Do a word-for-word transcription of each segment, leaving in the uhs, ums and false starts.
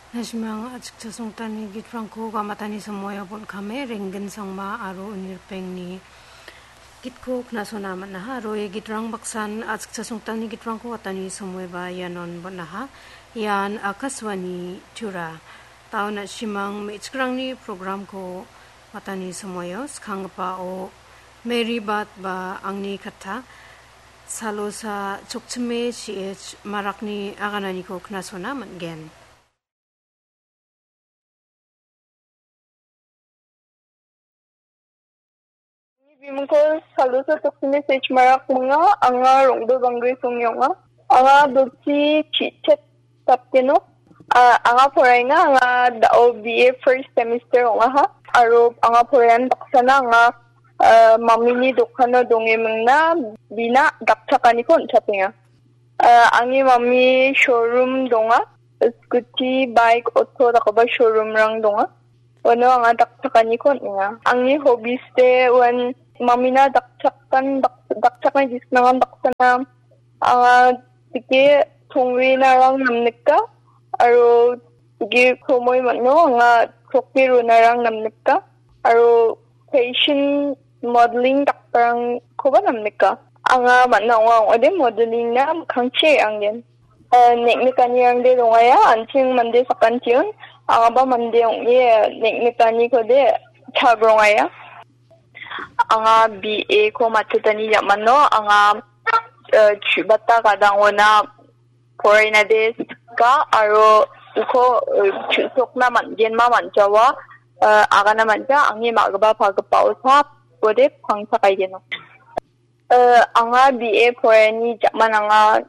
Nashimang achikcha songtani gitrangko gamatani somoio bon·kame Renggin Sangma aro Unirpengni gitko knasona man·aha. Aro ia gitrang baksan achikcha songtani gitrangko gatani somoiba ianon bon·aha. Ian Akashvani Tura. Taon nashimang me·chikrangni programko gatani somoio skanggipao Mary Bat ba angni katta Salosa Chokchime C H Marakni agananiko knasona man·gen. Bimingko Salosa Chokchime C H Marak ming·a, anga Rongdo Bangri songni ong·a. Anga Dochi Chichet Sapkeno. A, anga poraenga, anga da·o B A first semester ong·aha. Aro anga poraen baksana anga, a, mamini dokano donge mingna bina dakchakaniko on·chatenga. A, angni mami showroom donga. Scooty, bike, auto dakgipa showroomrang donga. Uano anga dakchakaniko on·enga. Angni hobbies-de uan mamina dakchakan, dak-, dakchakna gisik nangan baksana. Anga dike tongrinarang namnika, aro dike kromoi man·o anga chokki runarang namnika, aro fashion modeling dakparangkoba namnika. Anga man·a ong·a ong·ode modeling-na mikkangchi re·angen. Eh, neng·nikanirangde dongaia, an·ching mande sakantiun, angaba mande ong·e neng·nikanikode chagrongaya. Anga B A ko matchotani jamano, anga, eh, chu·bata gadangona porainade sika aro uko, eh, chu·sokna man·genma man·jawa, eh, agana man·ja, angni ma·gipa pagipao sapode pangchakaigeno. Eh, anga B A poraiani ja·man anga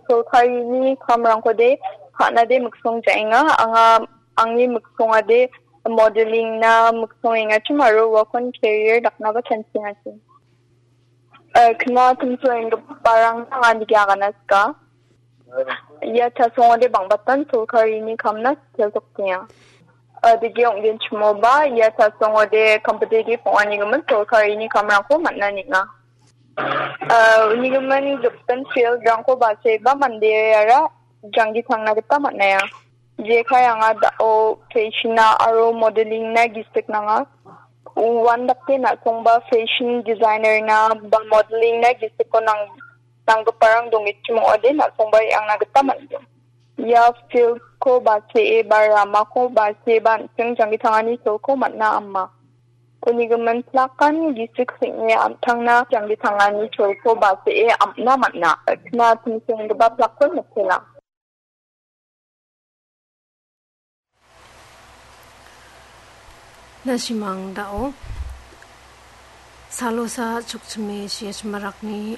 sorkarini kamrangkode ka·nade miksong ja·enga. Anga angni miksongade modeling-na miksongengachim aro uakon career daknaba chanchengachim. Eh, kna timsoenggiparangna anga nike agana sika. Ia chasongode bang·batan sorkarini kamna sitelsoktenga. Eh, digi ong·genchimoba, ia chasongode competitive ong·anigimin sorkarini kamrangko man·a ning·a. Eh, unigimin gipin field-rangko baseba mandeara janggi tangna gita man·aia. Jekai anga da·o fashion-na aro modeling-na gisik nanga. Uandake na·songba fashion designer-na ba modeling-na gisiko nang-, nanggiparang dongichim ong·ode na·songba re·angna gita man·gen. Ia field-ko basee ba ramako basee ba an·ching janggi tangani cholko man·a ama. Unigimin plakan gisik sing·e an·tangna janggi tangani cholko basee am·na man·a. Kna timsenggipa plakko mitela. Nashimang da·o Salosa Chokchime C H Marakni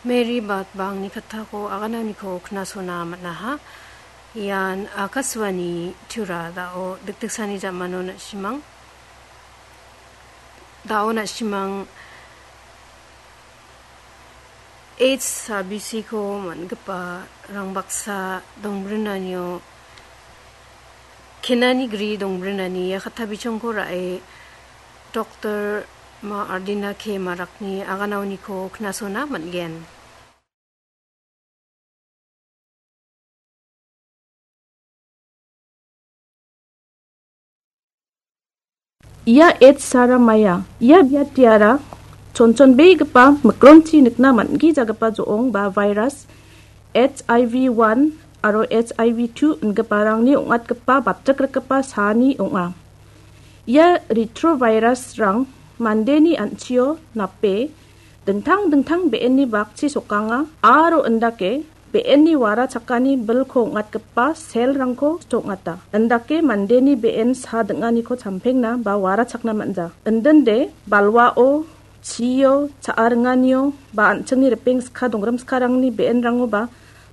Mary Bat ba angni kattako agananiko knasona man·aha. Ian Akashvani Tura da·o dikdiksani jamano nashimang. Da·o nashimang H S B C-ko man·gipa rangbaksa dongbrinanio, kenani gri dongbrinani ia katta bichongko ra·e Doktor Ma Ardina K Marakni aganaoniko knasona man·gen. Ia H Saramaya, ia biatiara chonchonbegipa mikronchi nikna man·gijagipa jo·ong ba virus H I V one aro H I V two ingiparangni ong·atgipa batrikrikgipa saani ong·a. Ia retrovirus-rang mandeni an·chio nape dingtang dingtang be·enni bakchi sokanga aro indake be·enni wara chakani bilko ong·atgipa cell-rangko sto ong·ata. Indake mandeni be·en sa ding·aniko champengna ba wara chakna man·ja. Indinde balwao, chio, cha·a ringanio ba an·chingni ripeng ska donggrim skarangni be·enrangoba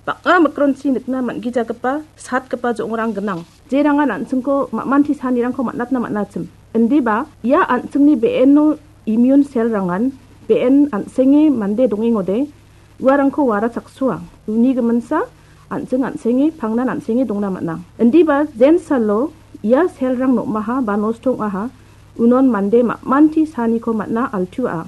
bang·a mikronchi nikna man·gijagipa satgipa jo·ongrang gnang. Jerangan an·chingko ma·manti sanirangko man·atna man·achim. Indiba ia an·chingni be·eno immune cell-rangan be·en an·senge mande dongengode uarangko wara chaksoa. Uni giminsa an·ching an·senge pangnan an·senge dongna man·a. Indiba jensalo ia cell-rang nom·aha ba nosto ong·aha unon mande ma·manti saniko man·a altua.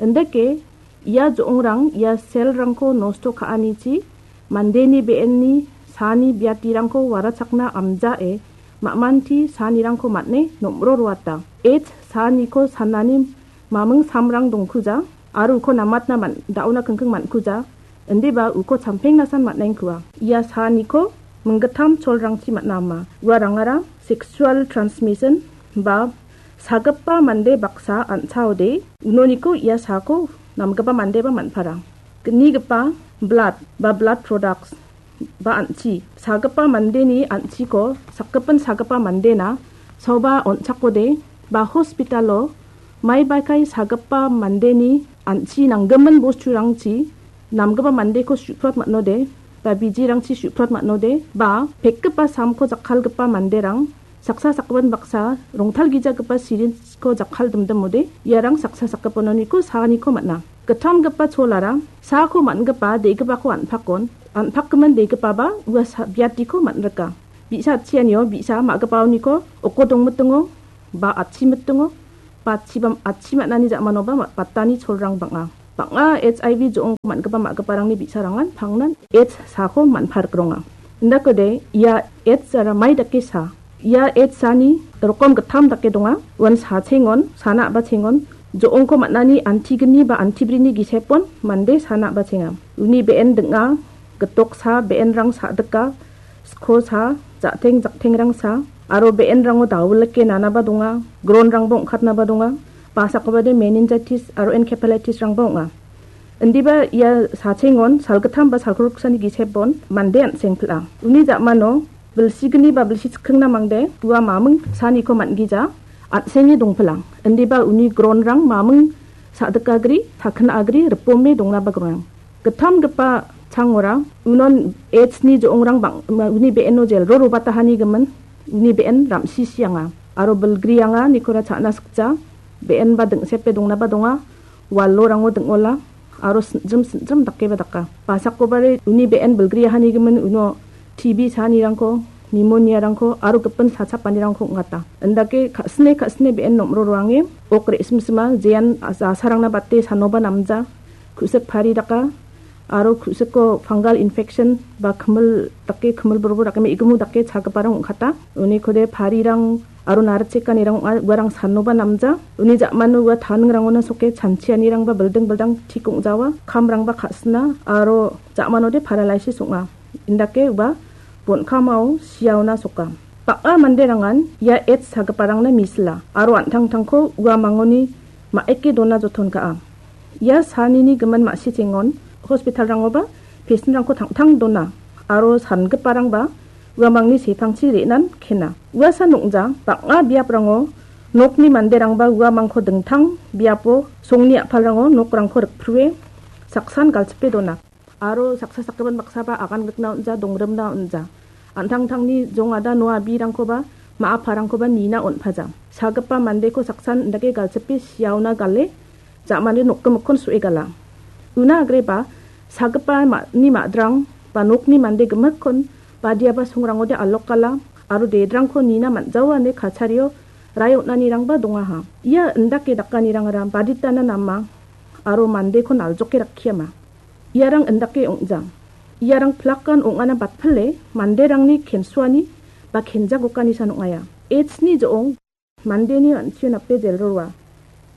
Indake ia jo·ongrang ia cell-rangko nosto ka·anichi mandeni be·enni Saani biatirangko warachakna amjae, ma·manti saanirangko man·e nom·ro roata. H saaniko sanani maming samrang dongkuja, aro uko namatna man-, da·ona kingking man·kuja, indiba uko champengnasan man·engkua. Ia saaniko minggittam cholrangchi man·a ama. Uarangara sexual transmission ba sagipa mande baksa an·chaode, unoniko ia saako namgipa mandeba man·para. Gnigipa blood ba blood products ba an·chi. Sagipa mandeni an·chiko sakgipin sagipa mandena saoba on·chakode ba hospitalo maibaikai sagipa mandeni an·chi nanggimin bosturangchi namgipa mandeko su·prot man·ode ba bijirangchi su·prot man·ode ba pekgipa samko jakkalgipa manderang saksa sakgipin baksa rongtalgijagipa sirinjko jakkal dimdimode iarang saksa sakgipinoniko saaniko man·a. Gittamgipa cholara saako man·gipa de·gipako an·pakon, an·pakgimin de·gipaba ua sa-, biatiko man·rika. Bi·sa atchianio bi·sa ma·gipaoniko oko dongmitingo ba atchimitingo ba atchiba, atchi man·ani ja·manoba ma-, batani cholrang bang·a. Bang·a H I V jo·ongko man·gipa ma·giparangni bi·sarangan pangnan H saako man·parikronga. Indakode ia H ara mai dake sa? Ia H saani rokom gittam dake donga. Uan sachengon, sana a·bachengon, jo·ongko man·ani antigni ba antibrini gisepon mande sana a·bachenga. Uni be·en ding·a, gitoksa be·enrang sa·dika, skosa, ja·teng jaktengrangsa, aro be·enrango dawilike nanaba donga, gronrangba ong·katnaba donga, basakobade meningitis aro encephalitisrangba ong·a. Indiba ia sachengon salgittam ba salgriksani gisepon mande an·seng pil·a. Uni ja·mano bilsigni ba bilsi chikkingna mangde ua maming saaniko man·gija an·senge dongpilang. Indiba uni gronrang maming sa·dikagri, takina agri, ripome dongnaba gnang. Gittamgipa changora unon H ni jo·ongrang bang-, uni be·eno jelro robatahani gimin uni be·en ramsisianga aro bilgrianga nikora cha·na sikja be·enba ding·sepe dongnaba donga. Walorango ding·ola aro sinjim sinjim dakeba daka. Basakobare uni be·en bilgriahani gimin uno T B saanirangko, pneumonia-rangko aro gipin sachapanirangko ong·ata. Indake ka·sine ka·sine be·en nom·ro roange ok re·simsima jean jasarangna bate sanoba namja, ku·sik pari daka, aro ku·siko fungal infection ba kimil dake, kimil borbo dake, me·gimu dake chagiparang ong·kata. Unikode parirang aro narichekanirang ong·a, uarang sanoba namja. Uni ja·mano ua taningrangona soke chanchianirangba bilding bildang tik ong·jawa, kamrangba ka·sina aro ja·manode paralysis ong·a. Indake ua bon·kamao siaona soka. Bang·a manderangan ia H sagiparangna misila aro an·tangtangko ua mangoni ma·eke dona joton ka·a. Ia saanini gimin ma·sichengon hospitalrangoba pesenrangko tangtang dona aro sangiparangba uamangni sepangchi re·nan kena. Uasan ong·ja bang·a biaprango nokni manderangba uamangko dingtang biapo songni a·palrango nokrangko rikprue saksan galchipe dona. Aro saksa sakgipin baksaba agan gitna on·ja, dongrimna on·ja. An·tangtangni jongada noabirangkoba, ma·aparangkoba nina on·paja. Sagipa mandeko saksan indake galchipe siaona gale, ja·mani nokgimikkon so·e gala. Una agreba, sagipa ma-, ni ma·drang ba nokni mande gimikkon badiaba songrangode alok gala, aro dedrangko nina man·jaoa ine kachario rae on·anirangba dongaha. Ia indake dakanirangara baditana nama aro mandeko naljoke rakkiama. Iarang indake ong·jang. Iarang plakan ong·ana batpile manderangni kensuani ba kenjagokanisan ong·aia. H ni jo·ong mandeni an·chio nape jelroa.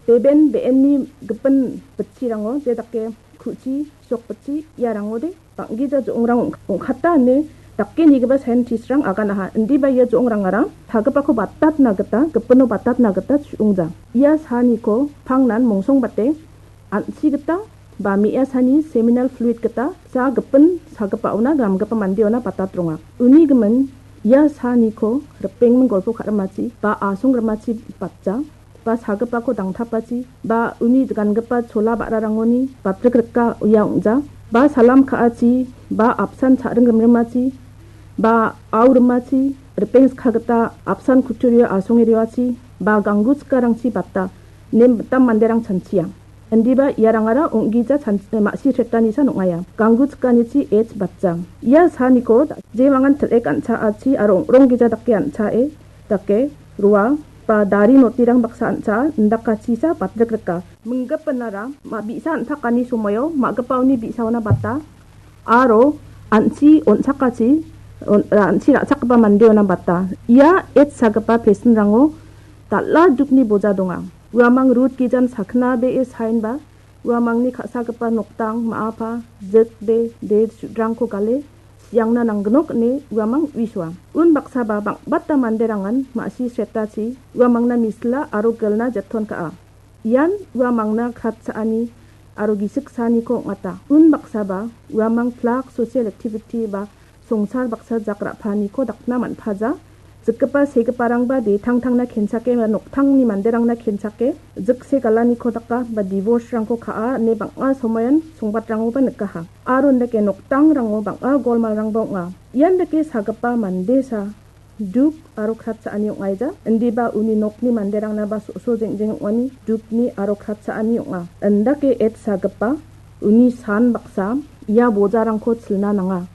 Beben be·enni gipin bitchirango je dake ku·chi, sok bitchi iarangode bang·gija jo·ongrang ong-, ong·kata ine dake nigipa scientistrang aganaha. Indiba ia jo·ongrangara sagipako batatna gita, gipino batatna gita chu·ongjang. Ia saaniko pangnan mongsongbate an·chi gita ba me·asani seminal fluid gita ja gipin sagipaona gamgipa mandeona batatronga. Uni gimin ia saaniko ripengming golpo ka·rimachi ba asongrimachi batja ba sagipako dangtapachi ba uni gangipa chola ba·rarangoni batrik rika ia ong·ja ba salam ka·achi ba apsan cha·ring rimrimachi ba au rimachi ripeng skagita apsan kutturio asonge rioachi ba ganggu chikarangchi bata nem mitam manderang chanchia. Indiba iarangara ong·gija chan-, ma·si thretanisa ong·aia. Ganggu chikanichi H batjang. Ia saaniko jemangan til·ek an·chaachi aro ong·rong gija dake an·chae dake roa ba dari notirang baksa an·chaa indakachisa batrik rika. Minggipinara ma-, bi·sa an·takani somoio ma·gipaoni bi·saona bata aro an·chi on·chakachi on-, ra-, an·chi ra·chakgipa mandeona bata. Ia AIDS sagipa pesinrango dal·a dukni boja donga. Uamang rut gijan sakna be·e saenba, uamangni ka·sagipa noktang, ma·apa, jik be, de, su·drangko gale, siangna nanggnok ine uamang uisoa. Unbaksaba bang·bata manderangan ma·si sretachi uamangna misila aro gilna jeton ka·a. Ian uamangna kratcha·ani aro gisik saaniko ong·ata. Unbaksaba uamang plak social activity ba songsar baksa jak ra·paaniko dakna man·paja. Jikgipa segiparangba detangtangna kenchake ba noktangni manderangna kenchake, jikse galaniko daka ba divorce-rangko ka·a ine bang·a somoian songbatrangoba nikaha. Aro indake noktangrango bang·a golmalrangba ong·a. Ian dake sagipa mandesa duk aro kratcha·ani ong·aija. Indiba uni nokni manderangnaba so·so jeng·jeng ong·ani dukni aro kratcha·ani ong·a. Indake AIDS sagipa uni san baksa ia bojarangko chilna nanga.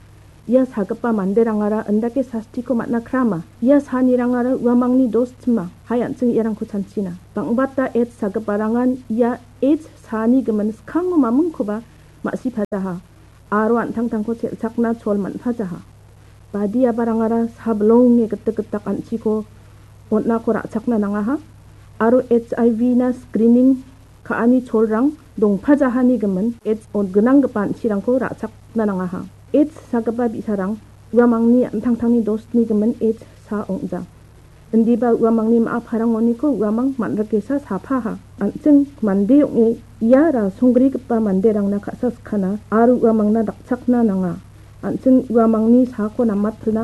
Ia sagipa manderangara indake sastiko man·a krama. Ia sanirangara uamangni dos tima. Hai an·ching iarangko chanchina. Bang·bata AIDS sagiparangan ia AIDS sani gimin skango mamingkoba ma·sipajaha. Aro an·tangtangko chel·chakna chol man·pajaha. Badiabarangara sablonge gitik gitak an·chiko on·ako ra·chakna nangaha. Aro H I V na screening ka·ani cholrang dongpajahani gimin AIDS on-, gnanggipa an·chirangko ra·chakna nangaha. AIDS sagipa bi·sarang uamangni an·tangtangni dosni gimin AIDS sa ong·ja. Indiba uamangni ma·a parangoniko uamang man·rikesa sapaha. An·ching mande ong·e ia rasonggrigipa manderangna ka·sa skana aro uamangna dakchakna nanga. An·ching uamangni saako namatpilna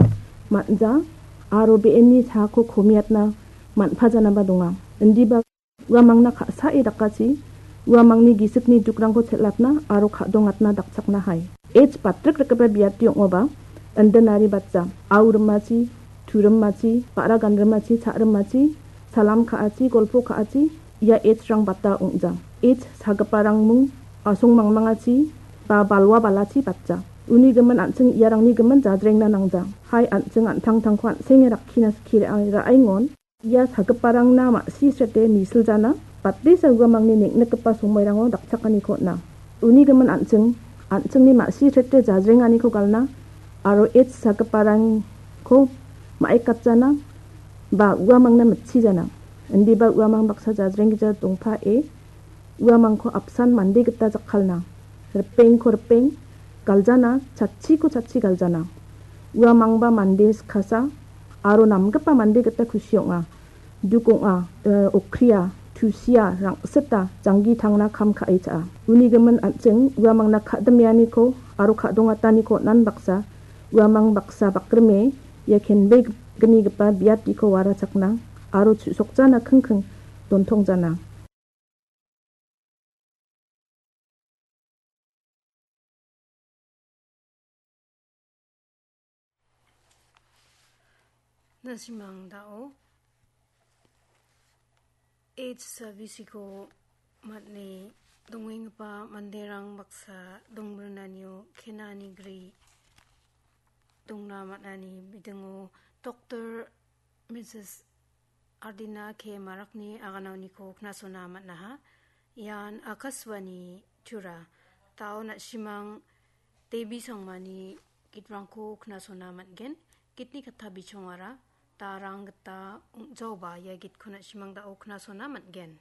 man·ja aro be·enni saako komiatna man·pajanaba donga. Indiba uamangna ka·sae dakachi, uamangni gisikni dukrangko chel·atna aro ka·dongatna dakchakna hai. AIDS batrik rikgipa biati ong·oba, indinari batja, au rimachi, tu rimachi, ba·ra gan rimachi, cha rimachi, salam ka·achi, golpo ka·achi, ia AIDS-rang bata ong·ja. AIDS sagiparang mung asong mangmangachi ba balwa balachi batja. Uni gimin an·ching iarangni gimin jajrengna nangja. Hai an·ching an·tangtangko an·senge rakkina skie ra-, ra·engon. Ia sagiparangna ma·si srete misiljana, batesa uamangni neng·nikgipa somoirango dakchakaniko on·a. Uni gimin an·ching, an·chingni ma·si srete jajrenganiko galna aro AIDS sagiparangko ma·ekatjana ba uamangna mitchijana. Indiba uamang baksa jajrenggija dongpae uamangko apsan mande gita jakkalna. Ripengko ripeng galjana, chatchiko chatchi galjana. Uamangba mande skasa aro namgipa mande gita kusi ong·a. Duk ong·a, eh, okria, tusia, rang·sita, janggi tangna kam ka·e cha·a. Uni gimin an·ching uamangna ka·dimeaniko aro ka·dongataniko on·an baksa, uamang baksa bakrime ia kenbegnigipa biatiko warachakna aro chu·sokjana kingking dontongjana. Na·simang dao AIDS sabisiko man·e dongenggipa manderang baksa dongrinanio kenani gri dongna man·ani bidingo Doktor Misis Ardina K Marakni aganaoniko knasona man·aha. Ian Akashvani Tura. Dao na·simang Devi Sangmani gitrangko knasona man·gen. Gitni katta bichongara darang gita ong·jaoba ia gitko na·simang dao knasona man·gen.